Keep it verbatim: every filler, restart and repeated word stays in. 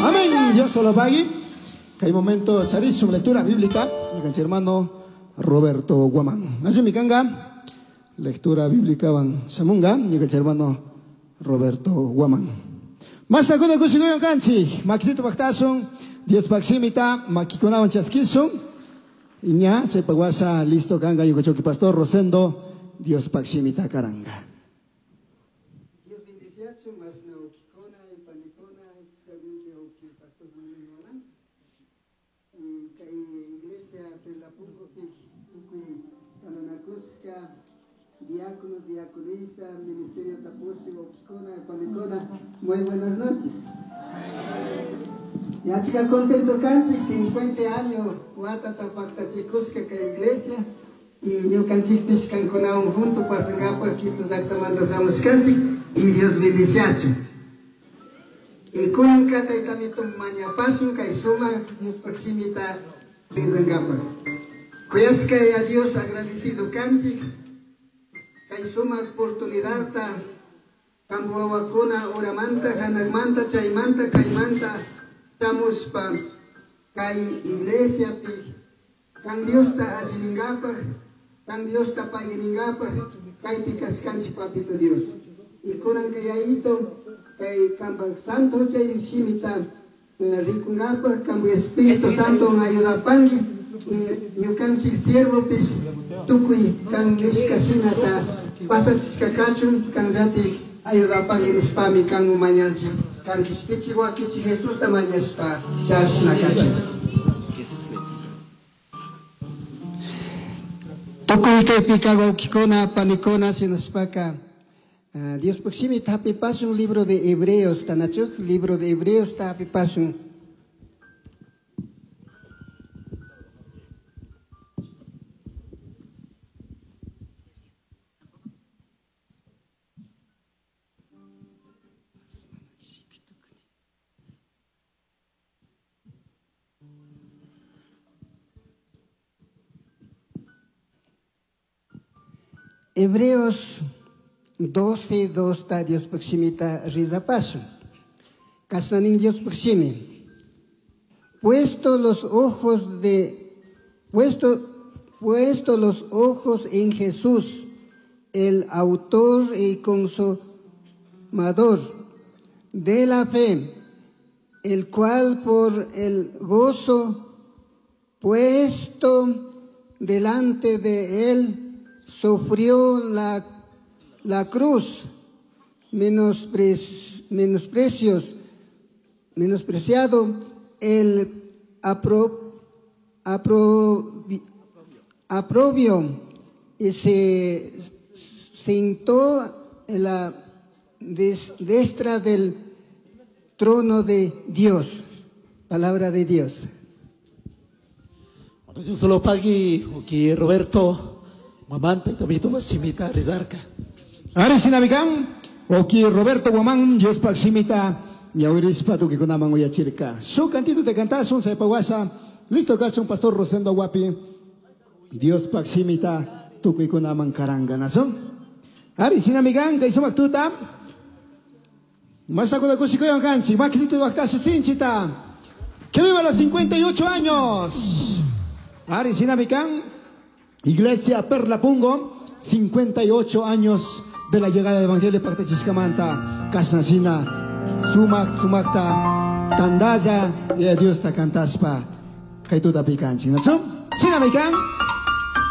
Amén. Dios solo pagui. Que hay momento su lectura bíblica. Mi hermano Roberto Guamán. Así mi canga. Lectura bíblica van samunga. Mi hermano Roberto Guamán. Más sakuna kusikuyon kanchi. Makitito baktasun. Dios paksimita. Makikunawan chaskisun. Iña, chepaguasa, listo kanga, yukachoki pastor Rosendo. Dios paksimita karanga. Dios bendiciachu, más na ukikona y panikona, especialmente uki pastor Manuel Guamán. Y kay iglesia Perlapungo pi tukuy tananakuska, diáconos, diaconisa, ministerio tapusi, ukikona y panikona. Muy buenas noches. Ya chica contento kanchik, cincuenta años, watata paktachikusca kay iglesia. Y ñukanchikpish kankunawan junto pasangapaj Quito llaqtamanta shamushkanchik y Dios bendiciachu. Y kunanka taytamito mañapasun kay sumaq Diospaq simita rizankapaj. Kuyashka a Dios agradecido kanchik kay sumaq oportunidadta kampu wawakuna uramanta hanaqmanta chaymanta kaymanta shamushpa kay iglesiapi kan Diosta allillinkapaj kan Diosta paguiningapaj kaypi kashkanchik papito Dios. Y kunan kayayito kay kampak santo chay shimita rikunkapaj kampu Espíritu Santo ayudapanki y ñukanchik siervopish tukuy kan nishka shinata pasachishka kachun kan llatik ayudapanki nishpami kan umañanchik kan kishpichik wakichik Jesusta mañashpa chashna kachun. Tukuy kaypika wawkikuna panikuna shinashpaka Diospaq shimita hapipasun libro de Hebreos tanachuk libro de Hebreos hapipasun. Hebreos doce, dos, Dios proximita rizapaso. Kasnanin Dios proximi. Puesto los ojos de, puesto, puesto los ojos en Jesús, el autor y consumador de la fe, el cual por el gozo puesto delante de él sufrió la, la cruz, menospre, menosprecios, menospreciado el apro, apro, aprobio, y se sentó en la des, destra del trono de Dios. Palabra de Dios. Bueno, solo pagui, aquí Roberto. Mamanta y también simita rizarca. Ahora sinabigan, oki Roberto Guamán, Dios paximita, ñawirispa tukikunaman uyachirka. Su cantito te cantas un sepaguasa, listo cacho un pastor Rosendo Guapi, Dios paximita, tukikunaman karanganazo. Ari sinamigan, kay sumaktuta, masakuna kusikuyan kanchi, makisito waktashi sinchita, que viva los cincuenta y ocho años. Ari sinamigan. Iglesia Perla Pungo, cincuenta y ocho años de la llegada del Evangelio Pactachiscamanta, Kasnasina, Sumak, Sumakta, Tandaya, y a Dios ta cantaspa, Kaituta Picanchi. ¿No? Sinamikan.